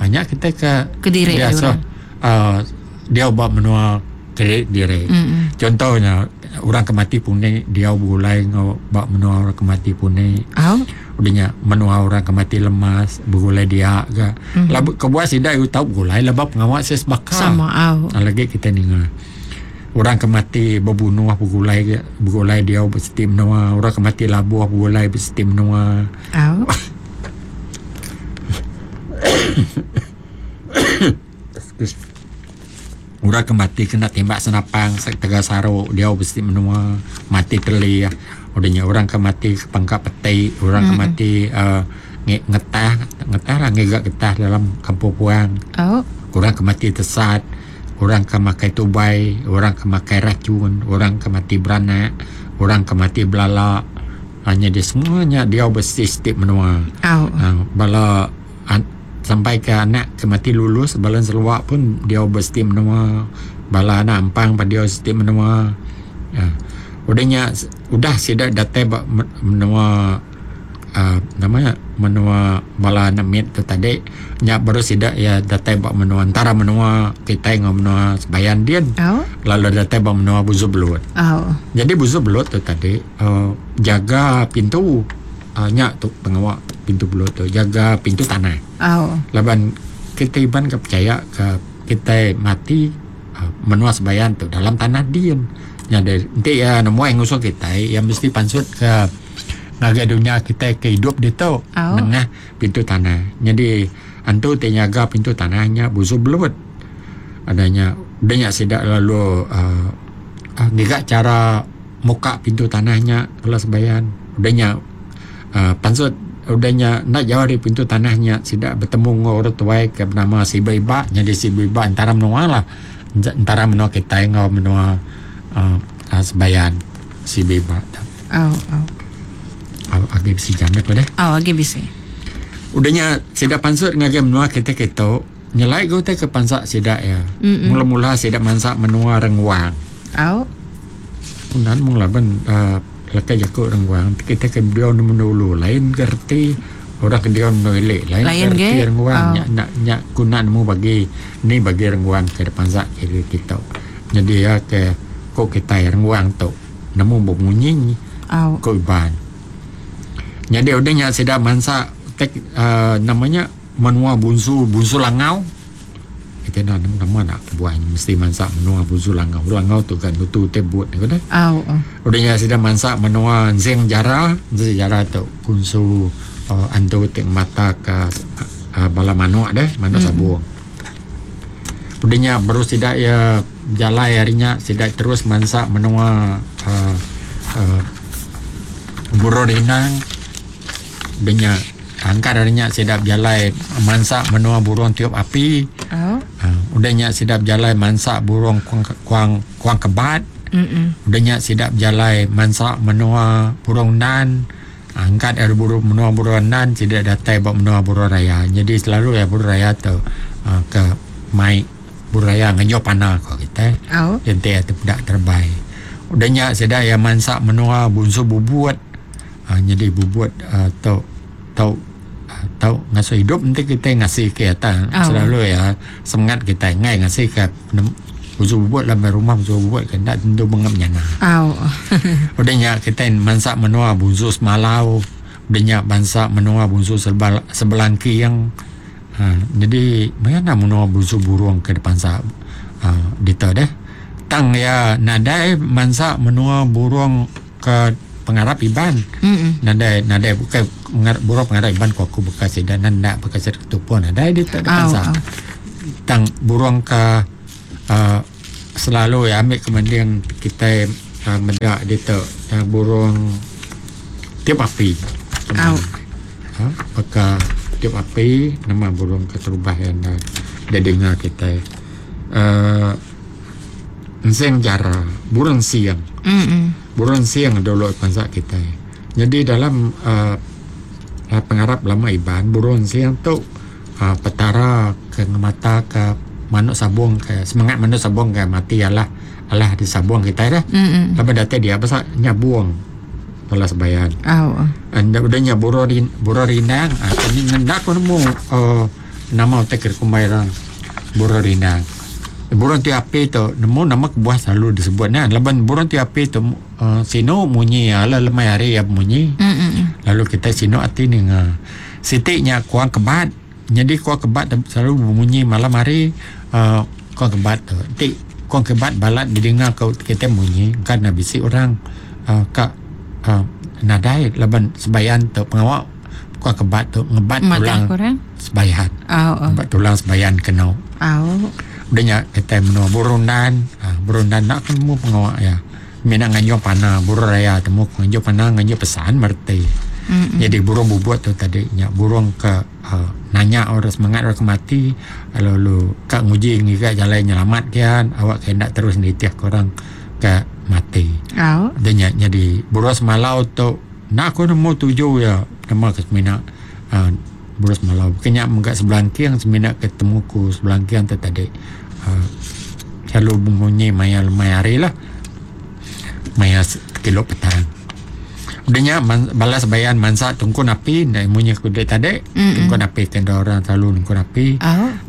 Nya kitai ke kediri diasuh uhh diau ba menua kediri diri. Contoh nya orang ke mati puni diau begulai enggau ba menua orang ke mati puni. Udah nya menua orang ke mati lemas begulai dia ga. Laban kebuah sida tau begulai laban pengawa sida sebaka. Lagi kitai ninga. Orang ke mati bebunuh begulai ge begulai diau ba siti menua, orang ke mati labuh begulai ba siti menua. Au. Orang ke mati kena timbak senapang tegal saru diau ba siti menua, mati telih. Udah nya orang ke mati pangka peti, orang ke mati uhh ngetah, ngetah lah ngiga getah dalam kampung puang. Au. Orang ke mati tesat. Orang ke makai tubai, orang ke makai rachun, orang ke mati beranak, orang ke mati belala. Nyadi semua nya diau ba siti-siti menua. Bala sampai ke anak ke mati lulus bala Sarawak pun diau ba siti menua. Bala anak ampang pun diau siti menua. Udah nya udah sida datai ba menua. uhh nama nya menua bala anak mit tu tadi nya baru sida iya datai ba menua entara menua kitai enggau menua sebayan din lalu datai ba menua Buzu Belut. Jadi Buzu Belut tu tadi uhh jaga pintu uhh nya tu pengawa pintu belut tu jaga pintu tanah laban kitai iban ke pechaya ke kitai mati uhh menua sebayan tu dalam tanah din. Nyadi enti iya nemuai ngusung kitai iya mesti pansut ke Ngagai dunya kitai ke idup ditu nengah pintu tanah. Nyadi antu ti nyaga pintu tanah nya Buzu Belut. Udah nya udah nya sida lalu uhh ngiga chara muka pintu tanah nya bala sebayan. Udah nya uhh pansut udah nya enda jauh ari pintu tanah nya sida betemu enggau orang tuai ke benama Siba Iba. Nyadi Siba Iba entara menua lah. Entara menua kitai enggau menua uhh sebayan Siba Iba tu. Au au. Au agi bisi jam deh deh. Au agi bisi. Udah nya sida pansut ngagai menua kita kitu nyelai ga utai ke pansa sida iya. Mula-mula sida mansa menua Renguang. Au. Unan mung laban uhh leka jaku Renguang ti kita ke diau menua ulu lain ga reti orang ke diau menua ili lain ga reti Renguang nya nya nya ku enda nemu bagi ni bagi Renguang ke dipansa kitu. Nyadi iya ke ku kitai Renguang tu. Nemu bemunyi ko Iban. Nyadi udah nya sida mansa tek uhh nama nya menua Bunsu Bunsu Langau. Kita enda nemu nama enda kebuah nya mesti mansa menua Bunsu Langau. Langau tu kan nutu utai but ko deh. Udah nya sida mansa menua Ensing Jara. Ensing Jara tu Bunsu uhh antu ti ngemata ka uhh bala manok deh manok sabung. Udah nya baru sida iya bejalai ari nya sida terus mansa menua uhh uhh Burung Rinang. Udah nya angkat ari nya sida bejalai mansa menua Burung Tiup Api. Uhh Udah nya sida bejalai mansa Burung Kuang Kuang Kuang Kebat. Udah nya sida bejalai mansa menua Burung Nan. Angkat ari buru menua Buru Andan sida datai ba menua Buru Raya. Nyadi selalu iya Buru Raya tu uhh ke mai Buru Raya ngenyup pana ko kitai. Enti iya tepeda terebai. Udah nya sida iya mansa menua Bunsu Bubut uhh nyadi Bubut uhh tu tau tau ngasuh idup enti kitai ngasi ke iya tang selalu iya semengat kitai enggai ngasi ke Busu bubut laban rumah busu bubut ke enda tentu bengap nyana. Au. Udah nya kitai mansa menua Bunsu Semalau, udah nya bansa menua Bunsu Sebal Sebelangking. Ha jadi maya enda menua Bunsu Burung ke dipansa ha ditu deh. Tang iya nadai mansa menua burung ke pengarap Iban. Mm-mm. Nadai nadai bukai pengarap burung pengarap Iban ku aku baka sida nan enda baka sida ketupung nadai ditu da Au, bansa. au. Tang burung ke uhh selalu iya ambi ke mending kitai uhh meda ditu uhh burung tiup api. Au. Uhh baka tiup api nama burung keterubah iya enda didinga kitai uhh ensing jara burung sing. Mm-mm. Burung sing dulu bansa kitai. Nyadi dalam uhh pengarap lama Iban burung sing tu uhh petara ke ngemata ke manuk sabung ke semengat manuk sabung ke mati alah alah disabung kitai dah. Mm-mm. Laban datai dia basa nyabung bala sebayan. Au. Enda udah nya burung rin burung rindang uhh enda ku nemu uhh nama utai ke dikumbai orang burung rindang. Burung ti api tu nemu nama kebuah selalu disebut nya laban burung ti api tu uhh sinu munyi iya lalu lemai hari iya bemunyi lalu kitai sinu ati ninga. Siti nya kuang kebat nyadi kuang kebat tu selalu bemunyi malam hari uhh kuang kebat tu enti kuang kebat balat didinga ku kitai munyi kan ne bisi orang uhh ka uhh nadai laban sebayan tu pengawa Kuak kebat tu ngebat Madah tulang korang. sebayan. Au. Ngebat tulang sebayan kenu. Au. Udah nya kitai menua Burundan. Ha, Burundan enda ku nemu pengawa iya. Mina nganjung pana, burung raya temu ku nganjung pana nganjung pesan mereti. Mm-mm. Jadi burung bubut tu tadi nya burung ke uh, nanya orang semangat orang ke mati lalu ka nguji ngiga jalai nyelamat kian awak ke enda terus nitih ke orang ke mati. Au. Udah nya jadi burung semalau tu Enda aku nemu tuju iya nama ke semina uhh berus malau. Bukai nya mega sebelangking semina ke temu ku sebelangking tu tadi uhh selalu bemunyi maya lemai hari lah. Maya kilo petang. Udah nya bala sebayan mansa tungkun api enda munyi ku dek tadi tungkun api ke enda orang selalu nungkun api.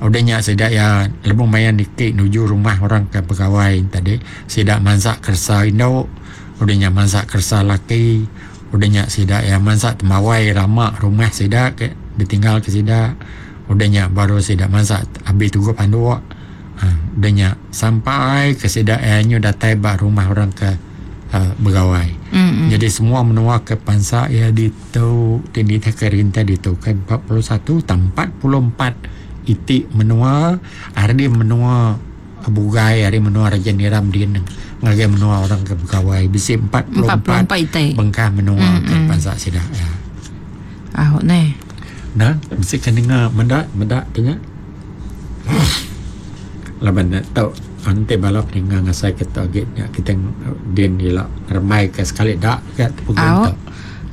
Udah nya sida iya lebuh maya niki nuju rumah orang ke begawai tadi sida mansa keresa indu. Udah nya mansa keresa laki, udah nya sida iya mansa tembawai lama rumah sida ke ditinggal ke sida. Udah nya baru sida mansa abi tuguh panduk uhh udah nya sampai ke sida iya nyu datai ba rumah orang ke uhh begawai. Jadi semua menua ke pansa iya ditu ti nitih ke rintai ditu ke 41 tang 44 iti menua ari menua Bugai ari menua Raja Niram din ngagai menua orang ke begawai bisi 44 iti bengkah menua ke bansa sida iya. Au neh. Nah, bisi ke ninga meda meda ti nya. Laban ne tau enti bala peninga ngasai ke tu agi nya kitai din ila ngerembai ke sekali da ga program tu.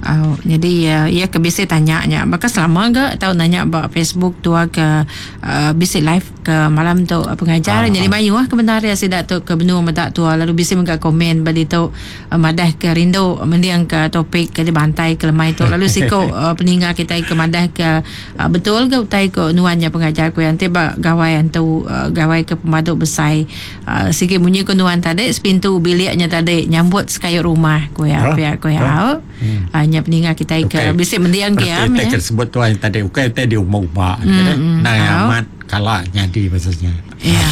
Au nyadi iya ke bisi tanya nya baka selama ga tau nanya ba Facebook tua ke uhh bisi live ke malam tu pengajar nyadi mayuh ke bendar iya sida tu ke benung meda tua lalu bisi mega komen ba ditu madah ke rindu mending ke topik ke dibantai ke lemai tu lalu siku peninga kitai ke madah ke betul ga utai ku nuan nya pengajar ku iya enti ba gawai antu gawai ke pemadu besai Sigi munyi ku nuan tadi sepintu bilik nya tadi nyambut sekayu rumah ku iya pia ku iya. Au. Nya peninga kitai ke bisi mending ke iya. Utai ke disebut tuai tadi ukai utai diumba-umba Nai amat kala nyadi pasal nya. Iya.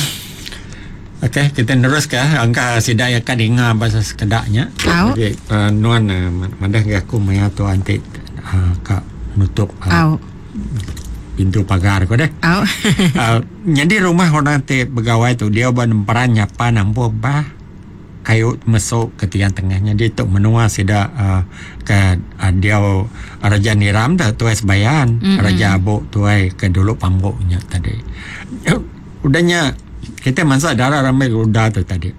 Okey kita neruska angka sida iya ka ninga pasal sekeda nya. Jadi nuan madah ngagai aku maya tuan ti ka nutup. Au. Pintu pagar ko deh. Au. uh, nyadi rumah orang ti begawai tu dia ba nemperan nyapan ampuh bah kayu mesuk ke tiang tengah nyadi tu menua sida uh, ke uh, dia Raja Niram dah tuai sebayan mm-hmm. Raja Abuk tuai ke dulu pambuk nya tadi. Udah nya kita mansa darah ramai udah tu tadi.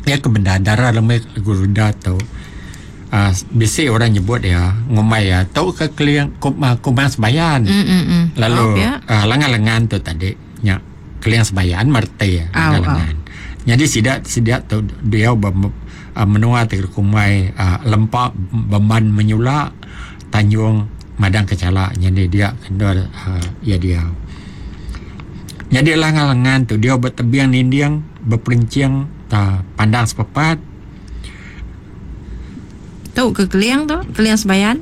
Iya ke bendar dara lemai Garuda tu uhh bisi orang nyebut iya ngumbai iya tu ke keling kumang sebayan lalu uhh lengan-lengan tu tadi nya keling sebayan mereti lengan-lengan. Nyadi sida sida tu diau ba menua ti kumbai uhh lempa bemban menyula Tanjung Madang Kechala nyadi dia endur uhh iya diau. Nyadi lengan-lengan tu diau ba tebing dinding beperenching ta pandang sepepat. Tu ke keling tu, keling sebayan.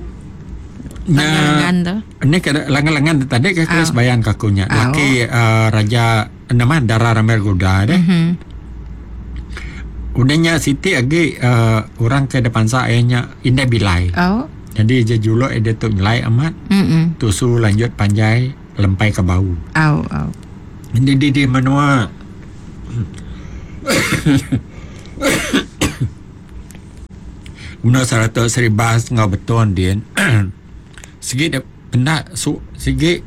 Lengan-lengan tu. Ni ke lengan-lengan tu tadi ke keling sebayan ke aku nya. Laki uhh raja nama dara Rambai Guda deh. Udah nya siti agi uh, orang ke depansa iya nya Indai Bilai. Oh. Jadi je juluk iya ditu nyelai amat. Mm-mm. Tusu lanjut panjai lempai ke bau. Au, au. Jadi di, di menua menua Saratok Seribas enggau Betong din sigi dep enda su sigi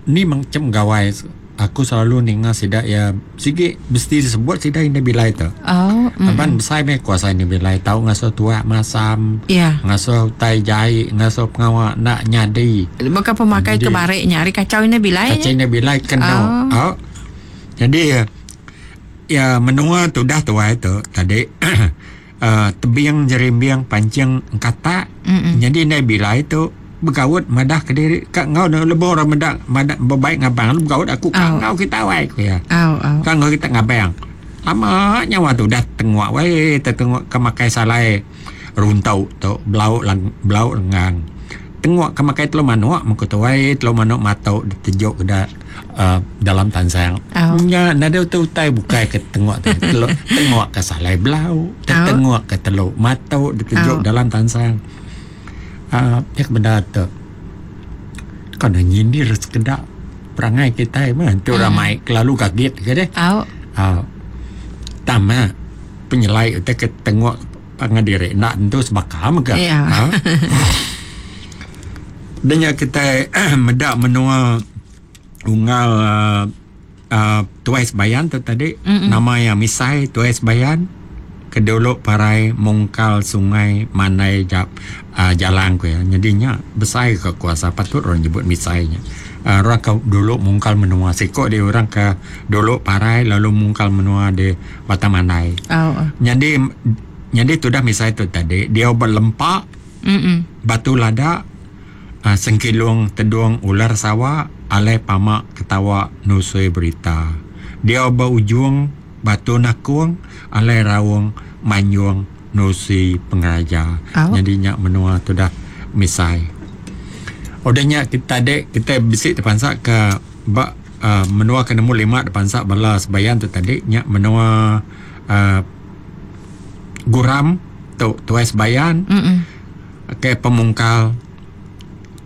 ni macam gawai aku selalu ninga sida iya sigi mesti disebut sida indai bilai tu. Oh, mm. Laban besai meh kuasa indai bilai tau ngasuh tuak masam, yeah. ngasuh utai jai, ngasuh pengawa enda nyadi. Baka pemakai ke barik nya ari kacau indai bilai. Kacau indai bilai kena. Oh. Oh. Jadi ya menua tudah tuai tu tadi uh, tebing jerimbing pancing engkatak. Mm-mm. Jadi indai bilai tu begaut madah ke diri ka enggau lebuh orang meda madah bebaik ngabang lalu begaut aku ka Au. enggau kita wai ku iya. Au, au. Ka enggau kita ngabang. Lama nyawa tu udah tenguk wai tetenguk ke makai salai runtok tu belauk lang belauk lenggang. Tenguk ke makai telu manuk meh ku tu wai telu manuk matok ditejuk ke da uhh dalam tansang. Au. Nya nadai utai utai bukai ke tenguk tu telu tenguk ke salai belauk tetenguk ke telu matok ditejuk Au. dalam tansang. Aaa pia ke bendar tu kan ne nyindir sekeda perangai kitai meh enti orang mai kelalu gagit ke deh. Au. Aaa tang meh penyelai utai ke tengok pangan diri enda tentu sebaka mega. Ya. Aaa da nya kitai meda menua unggal aaa tuai sebayan tu tadi nama iya Misai tuai sebayan ke dulu parai mungkal sungai mandai ja aaa jalang ku iya. Nyadi nya besai ka kuasa patut orang nyebut Misai nya. aaa Orang ke dulu mungkal menua siko di orang ke dulu parai lalu mungkal menua di Batang Mandai. Nyadi nyadi tudah Misai tu tadi diau ba lempa batu lada. Sengkilung tedung ular sawa alai pama ketawa nusui berita. Diau ba ujung batu nakung alai raung manjung nusui pengeraja. Nyadi nya menua tudah misai. Udah nya tadi kitai bisi tepansa ke ba uhh menua ke nemu lima tepansa bala sebayan tu tadi nya menua uhh Guram tu tuai sebayan. Ke pemungkal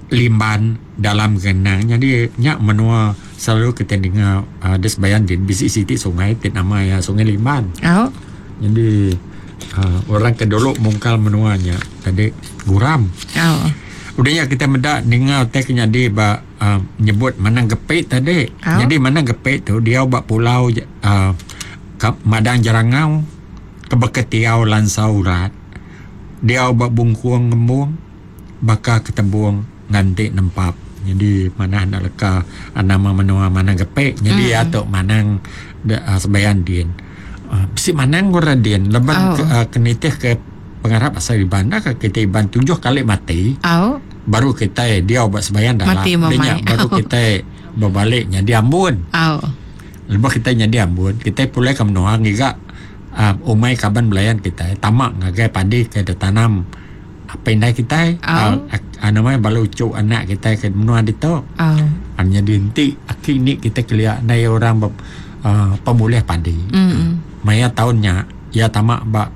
Limban dalam Genang nyadi nya menua selalu kitai ninga uhh di sebayan din bisi siti sungai ti nama iya Sungai Limban. Au. Nyadi uhh orang ke dulu mungkal menua nya tadi Guram. Au. Udah nya kitai meda ninga utai ke nyadi ba uhh nyebut Manang Gepik tadi. Au. Nyadi Manang Gepik tu diau ba pulau uhh Madang Jerangau ke Beketiau Lansau Urat. Diau ba bungkung ngembung baka ketebung nganti nempap. Nyadi manah enda leka nama menua manang gepek nyadi iya tu manang sebayan din. Bisi manang orang din laban ke nitih ke pengarap asal Iban enda ka kitai Iban tujuh kali mati baru kitai diau ba sebayan dalam nya baru kitai bebali nyadi ambun. Lebuh kitai nyadi ambun kitai pulai ke menua ngiga. Umai kaban belayan kitai tama ngagai padi ke ditanam apai indai kitai nama bala uchu anak kitai ke menua ditu. Nyadi enti aki indi kitai kelia ndai orang pemulih padi. Maya taun nya iya tama ba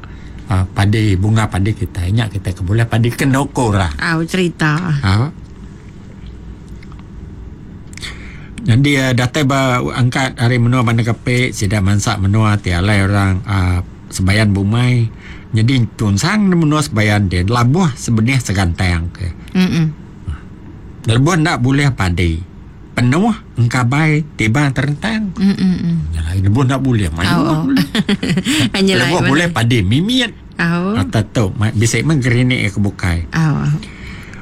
padi bunga padi kitai nya kitai ke bulih padi kenu ku orang. Au cherita. Nyadi datai ba angkat ari menua Bandar Kapit sida mansa menua ti alai orang uhh sebayan bumai nyadi tunsang ne menua sebayan ti labuh sebenih segantang ke. Lebuh enda bulih padi penuh engkabai tibang terentang. Lebuh enda bulih mayuh bulih. Lebuh bulih padi mimit. Atau tu bisi meh gerinik ke bukai.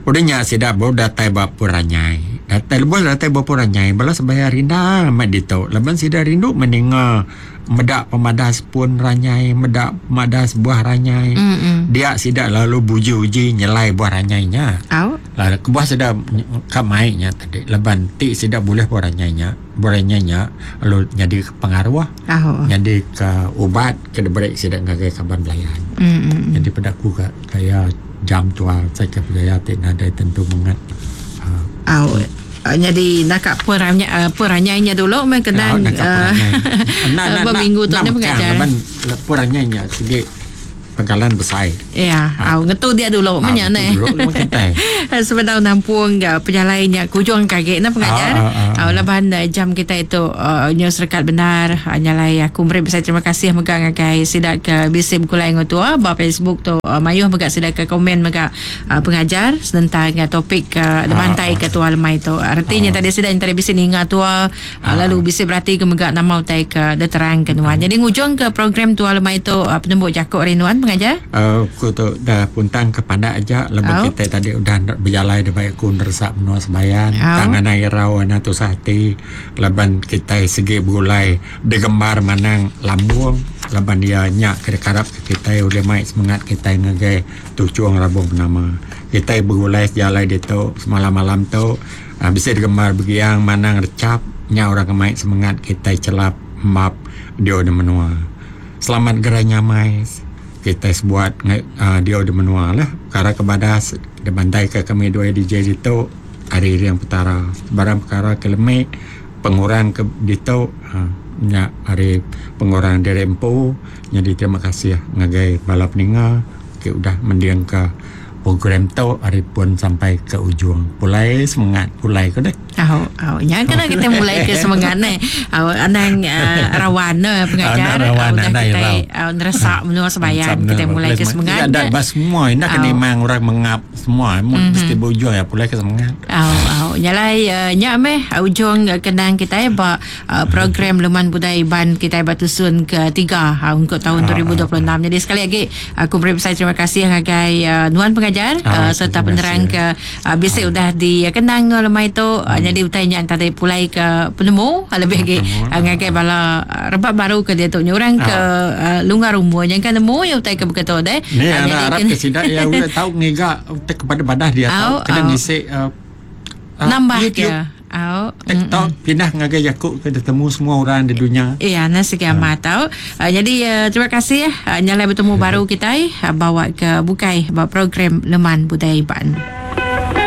Udah nya sida baru datai ba Puranyai. Datai lebuh datai ba Puranyai bala sebaya rindang amat ditu laban sida rindu meninga meda pemadas pun ranyai meda pemadas buah ranyai. Dia sida lalu buji-uji nyelai buah ranyai nya. Lalu kebuah sida ka mai nya tadi laban ti sida bulih buah ranyai nya, buah ranyai nya lalu nyadi ke pengaruh nyadi ke ubat ke diberi sida ngagai kaban belayan. Nyadi peda ku ka gaya jam tua sai ke pegaya ti nadai tentu mengat. Au. Nyadi naka peranyai nya dulu meh kenang ba minggu tu nya pengajar. Laban peranyai nya sigi pengkalan besai. Ya, au ngetu dia dulu meh nya neh. Sebedau nampung ga pejalai nya kujung ke agi ne pengajar. Au laban jam kitai tu nyau serekat bendar nyalai aku meri besai terima kasih mega ngagai sida ke bisi begulai enggau tua ba Facebook tu mayuh mega sida ke komen mega. Pengajar senentang topik ke dibantai ke tua lemai tu. Reti nya tadi sida entara bisi ninga tua lalu bisi berati ke mega nama utai ke diterang ke nuan. Jadi ngujung ke program tua lemai tu penembu jaku ari nuan pengajar. Aku tu dah puntang ke pandak aja laban kitai tadi udah bejalai da bai aku neresak menua sebayan tang anang irau anang tusah ati laban kitai sigi begulai digembar manang lambung laban iya nya ke dikarap ke kitai ulih mai semengat kitai ngagai Tuchung Rabung Penama. Kitai begulai sejalai ditu semalam-malam tu bisi digembar begiang manang rechap nya orang ke mai semengat kitai chelap map diau di menua. Selamat gerai nyamai kitai sebuat diau di menua lah. Pekara ke badas dibantaika kami duai DJ ditu ari iring Petara. Sebarang pekara ke lemi pengurang ke ditu nya ari pengurang diri empu. Nyadi terima kasih ngagai bala peninga. Ti udah mendingka program tu ari pun sampai ke ujung. Pulai semengat pulai ko deh. Au au nya kena kita mulai ke semengat neh. Au anang rawan ne pengajar. Anang rawan udah anang kitai irau. au neresak menua sebayan kita mulai ke semengat. Tidak ada semua indah kena imang orang mengap semua mm-hmm. mesti berujung ya pulai ke semengat. Au au nya lai nya meh ujung kenang kitai ba program Leman Budaya Iban kitai ba tusun ke tiga ungkup taun 2026. Jadi sekali agi aku meri besai terima kasih ngagai nuan pengajar serta penerang ke bisi udah dikenang enggau lemai tu. Nyadi utai nya tadi pulai ke penemu lebih agi ngagai bala rebak baru ke diatu nya orang ke lunggar umur nyangka nemu iya utai ke baka tu deh. Ni arap ke sida iya ulih tau ngiga utai ke badah-badah dia tau kena ngisi nambah ke. Au. TikTok pindah ngagai jaku ke ditemu semua orang di dunya. Iya, nah sigi amat tau. Nyadi terima kasih nyalai betemu baru kitai bawa ke bukai ba program Leman Budaya Iban.